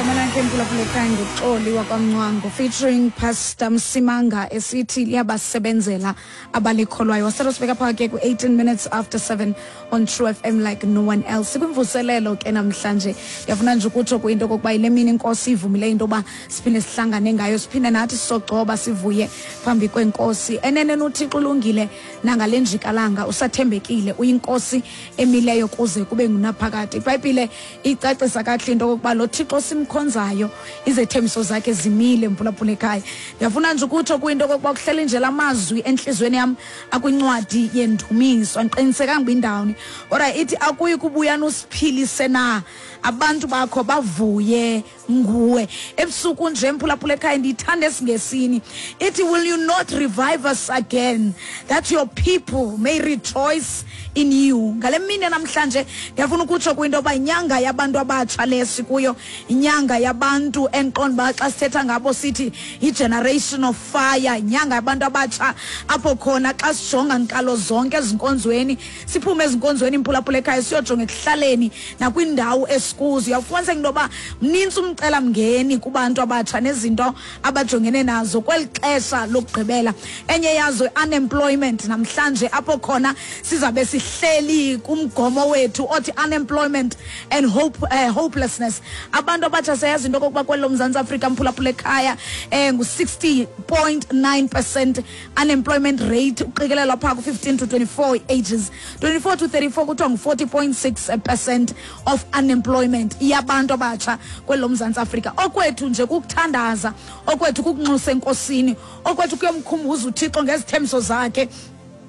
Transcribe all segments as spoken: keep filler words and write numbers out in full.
Igama lakhe, mphulaphula ekhaya, nguXoli wakwaMncwango featuring Pastor Msimanga, esithi "Liyabasebenzela Abalikholwayo". Wasele sibeka phaa ke ku-eighteen minutes after seven on True F M like no one else. Sikwimvuselelo ke namhlanje. Ndiyafuna nje ukutsho kwinto okokuba yile mini iNkosi ivumile into yoba siphinde sihlangane ngayo, siphinde nathi sogcoba, sivuye phambi kwenkosi. Eneneni uThixo ulungile, nangale njikalanga usathembekile, uyiNkosi emileyo kuze kube ngunaphakade. IBhayibhile icacisa kakuhle into okokuba lo Thixo simkhonzayo, izethembiso zakhe zimile. Mphulaphula ekhaya, ndiyafuna nje ukutsho kwinto okokuba kuhleli nje la mazwi entliziyweni yam akwincwadi yeNdumiso. Andiqinisekanga uba indawuni, kodwa ithi, "Akuyi kubuya usiphilise na, abantu bakho bavuye nguwe?" Ebusuku nje, mphulaphula ekhaya, ndiyithanda esiNgesini, ithi, "Will you not revive us again, that your people may rejoice in you?" Ngale mini namhlanje ndiyafuna ukutsho kwinto yoba inyanga yabantu abatsha le sikuyo, inyanga yabantu endiqonda uba xa sithetha ngabo sithi yi-generation of fire, inyanga yabantu abatsha apho khona xa sijonga nkalo zonke ezinkonzweni, siphume ezinkonzweni, imphulaphula ekhaya, siyojonga ekuhlaleni nakwiindawo esikuzo, uyawufumaniseka into yoba mnintsi umcelamngeni kubantu abatsha nezinto abajongene nazo kweli xesha lokugqibela. Enye yazo, unemployment. Namhlanje apho khona sizabe sihleli kumgomo wethu othi "Unemployment and hope, uh, hopelessness". Abantu abatsha, siyayazi into okokuba kwelo Mzantsi Afrika, mphulaphula ekhaya, um ngu-sixty point nine percent unemployment rate, uqikelelwa phaa ku-fifteen to twenty-four ages. twenty-four to thirty-four kuthiwa ngu-forty point six percent of unemployment yabantu abatsha kwelo Mzantsi Afrika. Okwethu nje kukuthandaza, okwethu kukunxusa eNkosini, okwethu kuyomkhumbuza uThixo ngezithembiso zakhe,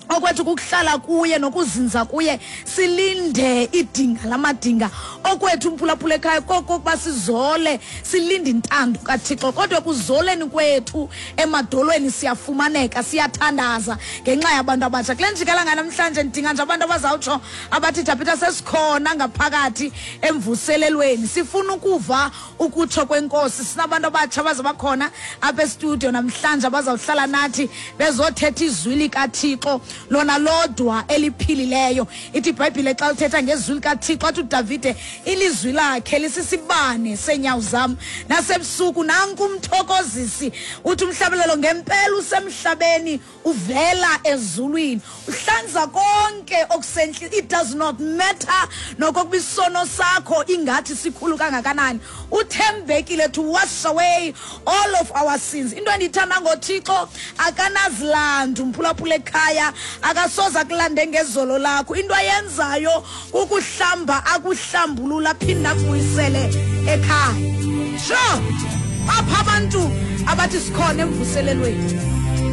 okwethu kukuhlala kuye nokuzinza kuye, silinde idinga lamadinga. Okwethu, mphulaphula ekhaya, kokokuba sizole, silinde intando kaThixo. Kodwa ekuzoleni kwethu emadolweni siyafumaneka, siyathandaza ngenxa yabantu abatsha. Kule njikalanga namhlanje ndidinga nje abantu abazawutsho abathi, "Tapita, sesikhona ngaphakathi emvuselelweni, sifuna ukuva ukutsho kweNkosi." Sinabantu abatsha abaza bakhona apha estudio namhlanje, abazawuhlala nathi bezothetha izwi likaThixo lona lodwa eliphilileyo. Ithi iBhayibhile xa uthetha ngezwi likaThixo, athi uDavide, ilizwi lakhe lisisibane seenyawo zam nasebusuku. Nanku umthokozisi, uthi umhlabelelo, ngempela usemhlabeni, uvela ezulwini, uhlanza konke okusentle. It does not matter nokokuba isono sakho ingathi sikhulu kangakanani, uthembekile to wash away all of our sins. Into endiyithanda ngoThixo, akanazilandu, mphulaphula ekhaya, akasoze akulande ngezolo lakho. Into ayenzayo kukuhlamba, akuhlambulula, aphinde akubuyisele ekhaya. Sure, apha abantu abathi sikhona emvuselelweni.